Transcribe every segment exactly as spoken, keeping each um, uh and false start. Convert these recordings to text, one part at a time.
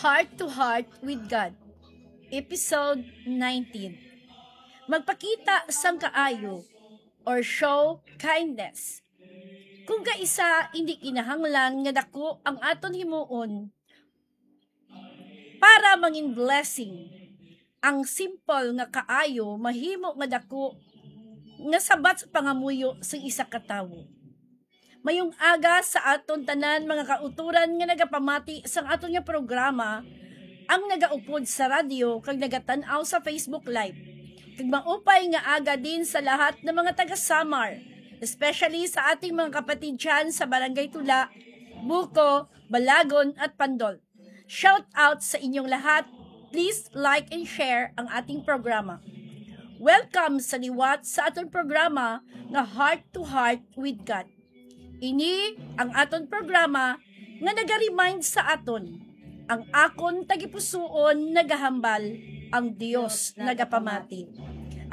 Heart to Heart with God, Episode nineteen. Magpakita sang kaayo or show kindness. Kung kaisa, hindi kinahanglan nga dako ang aton himuon para mangin blessing. Ang simple nga kaayo mahimo nga dako nga sabat sa pangamuyo sa isa ka tawo. Mayong aga sa aton tanan, mga kautoran nga nagapamati sang aton nga programa, ang nagaupod sa radyo kag nagatan-aw sa Facebook Live. Kag maupay nga aga din sa lahat ng mga taga Samar, especially sa ating mga kapatid dyan sa Barangay Tula, Buco, Balagon, at Pandol. Shout out sa inyong lahat. Please like and share ang ating programa. Welcome sa liwat sa aton programa nga Heart to Heart with God. Ini ang aton programa nga naga-remind sa aton, ang akon tagipusoon nagahambal, ang Dios nagapamati.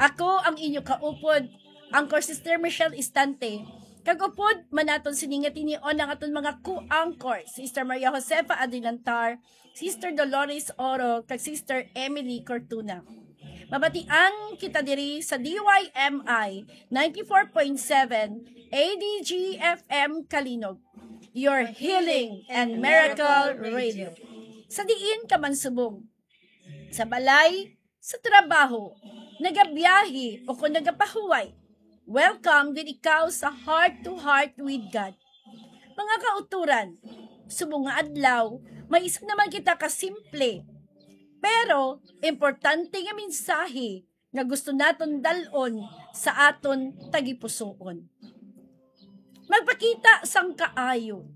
Ako ang inyo kaupod, Anchor Sister Michelle Istante, kag upod man naton sini nga tinion ang aton mga co-anchor, Sister Maria Josefa Adilantar, Sister Dolores Oro, kag Sister Emily Cortuna. Mabatian kita diri sa D Y M I ninety-four point seven A D G F M Kalinog, your healing and miracle radio. Sa diin ka man subong, sa balay, sa trabaho, nagabiyahe o kung nagapahuway, welcome gid ikaw sa Heart to Heart with God. Mga kauturan, subong nga adlaw, may isa naman kita ka simple, pero importante nga mensahe nga gusto naton dal-on sa aton tagipusoon. Magpakita sang kaayo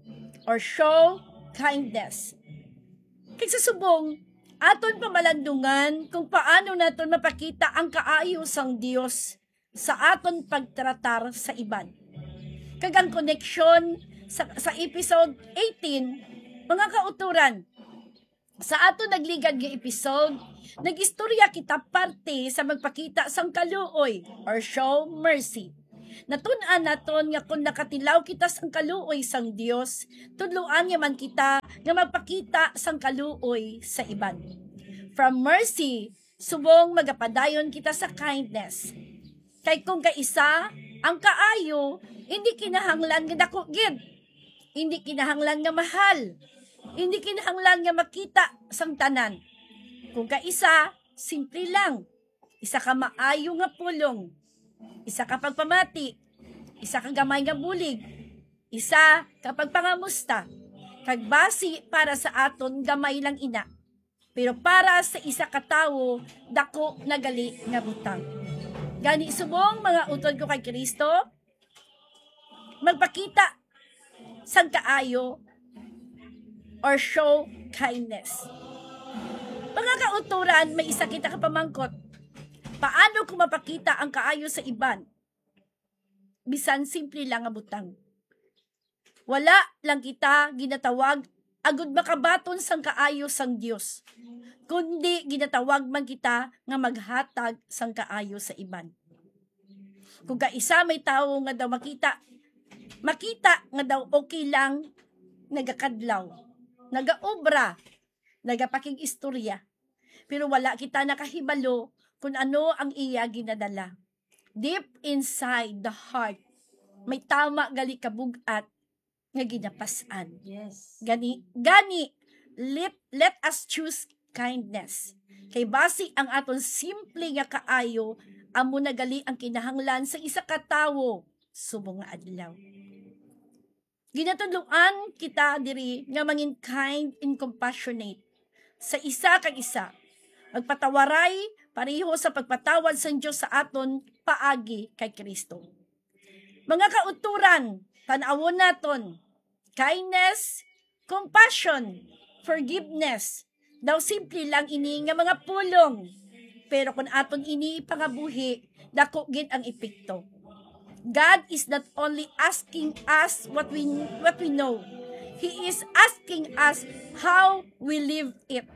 or show kindness. Kag sa subong, aton pamalandungan kung paano naton mapakita ang kaayo sang Dios sa aton pagtratar sa iban. Kag ang koneksyon sa, sa episode eighteen, mga kauturan, sa aton nagligad nga episode, nag-istorya kita parte sa magpakita sang kaluoy or show mercy. Natun-an naton nga kung nakatilaw kita sang kaluoy sang Dios, tudloan niya man kita nga magpakita sang kaluoy sa iban. From mercy, subong magapadayon kita sa kindness. Kay kung kaisa, ang kaayo, hindi kinahanglan nga dako gid. Hindi kinahanglan nga mahal. Hindi kinahanglan nga makita sang tanan. Kung kaisa, simple lang. Isa ka maayo nga pulong. Isa ka pagpamati. Isa ka gamay nga bulig. Isa ka pagpangamusta. Kag basi para sa aton gamay lang ina. Pero para sa isa ka tawo, dako na gali nga butang. Gani subong, mga utod ko kay Kristo, magpakita sang kaayo or show kindness. Mga kauturan, may isa kita ka pamangkot. Paano ko mapakita ang kaayo sa iban? Bisan simple lang nga butang. Wala lang kita ginatawag agud makabaton sang kaayo sang Dios, kundi ginatawag man kita nga maghatag sang kaayo sa iban. Kung kaisa may tawo nga daw makita, makita nga daw okay lang, nagakadlaw, nagaobra, nagapakig-istorya, pero wala kita nakahibalo kung ano ang iya ginadala. Deep inside the heart, may tama gali kabug-at nga ginapas-an. Yes. Gani, gani, let, let us choose kindness. Kay basi ang aton simple nga kaayo, amo na gali ang kinahanglan sa isa ka tawo subong nga adlaw. Ginatudloan kita diri nga mangin kind and compassionate sa isa kag isa. Magpatawaray pareho sa pagpatawad sang Dios sa aton paagi kay Kristo. Mga kauturan, tan-awon naton, kindness, compassion, forgiveness. Daw simple lang ini nga mga pulong, pero kung aton ini ipangabuhi, dako gid ang epekto. God is not only asking us what we, what we know. He is asking us how we live it.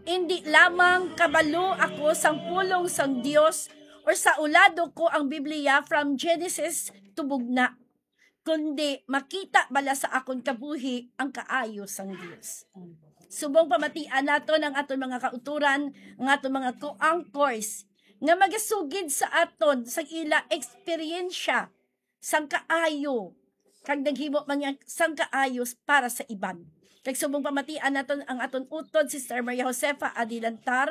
Indi lamang kabalo ako sang pulong sang Dios or saulado ko ang Biblia from Genesis to Bugna. kundi makita bala sa akon kabuhi ang kaayo sang Dios. Subong pamatian naton ang aton mga kautoran, ang aton mga co-anchors, nga magasugid sa aton sang ila eksperyensya sang kaayo, kag naghimo man niya sang kaayo para sa iban. Kag subong pamatian naton ang aton utod, Sister Maria Josefa Adilantar.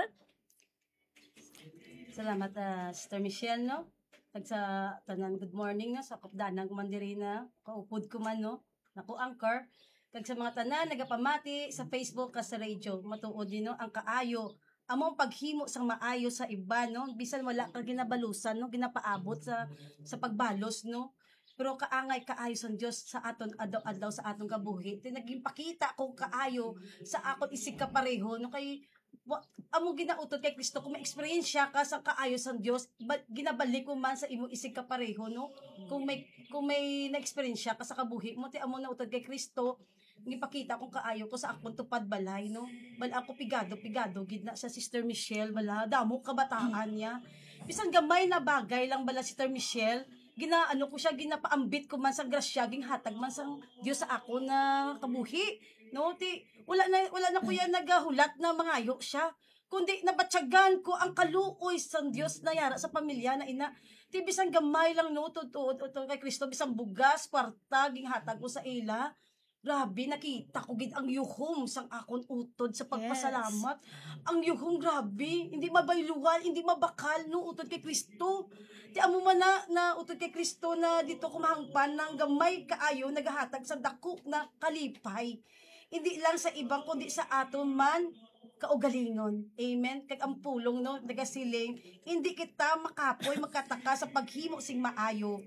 Salamat, ah, Sister Michelle, no? Kag sa tanan, good morning, no? Sa kupdanan ko man diri na kaupod ko man, no? Nako, anchor. Kag sa mga tanan nagapamati sa Facebook kag sa radio, matuod ni, no, ang kaayo amo ang paghimo sang maayo sa iban, no? Bisan wala ka ginabalusan, no, ginapaabot sa, sa pagbalos, no? Pero kaangay kaayo sang Dios sa aton adlaw-adlaw, sa aton kabuhi. Ti naging pakita ko kaayo sa akon isigkapareho, no? Kay wa, amo ginautod kay Kristo, kung may eksperyensya ka sa kaayo sang Dios, ba, ginabalik ko man sa imo isigkapareho, no? Kung may, kung may na-eksperyensya ka sa kabuhi mo, ti amo na utod kay Kristo, gipakita kong kaayo ko sa akon tupad balay, no? Bal ako pigado, pigado gid na sa Sister Michelle, bala, damo kabataan niya. Bisan gamay na bagay lang bala, Sister Michelle, ginaano ko siya, ginapaambit ko man sa grasya, ginhatag man sang Dios sa akon na kabuhi, no? Ti, wala na, wala na ko yan nagahulat na mangayo siya. Kundi nabatyagan ko ang kaluoy sang Dios na yara sa pamilya na ina. Ti bisan gamay lang, no, tuod, tuod, tuod kay Kristo, bisan bugas, kwarta, ginhatag ko sa ila. Grabe, nakita ko gid ang yuhom sang akon utod sa pagpasalamat. Ang yuhom, grabe, hindi mabayluan, hindi mabakal, no, utod kay Kristo. Ti amo man na, na utod kay Kristo na dito kumahangpan ng gamay kaayo nagahatag sa dako na kalipay. Hindi lang sa iban, kundi sa aton man kaugalingon. Amen. Kag ang pulong, no, nagasiling, hindi kita makapoy, makataka sa paghimo sing maayo.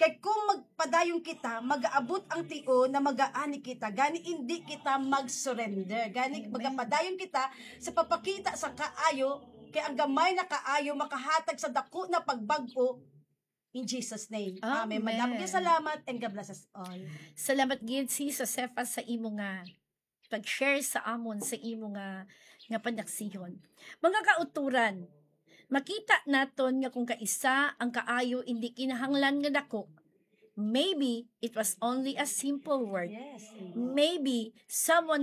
Kay kung magpadayon kita, magaabot ang tion na magaani kita. Gani hindi kita mag-surrender. Gani Amen. Magapadayon kita sa papakita sa kaayo, kay ang gamay na kaayo makahatag sa dako na pagbag-o. In Jesus' name. Amen. Amen. Madamo nga salamat and God bless us all. Salamat gid, Sis Josefa, sa imo nga pag-share sa amon sa imo nga, nga panaksihon. Mga kauturan, makita naton nga kung kaisa ang kaayo indi kinahanglan nga dako, maybe it was only a simple word. Yes. Maybe someone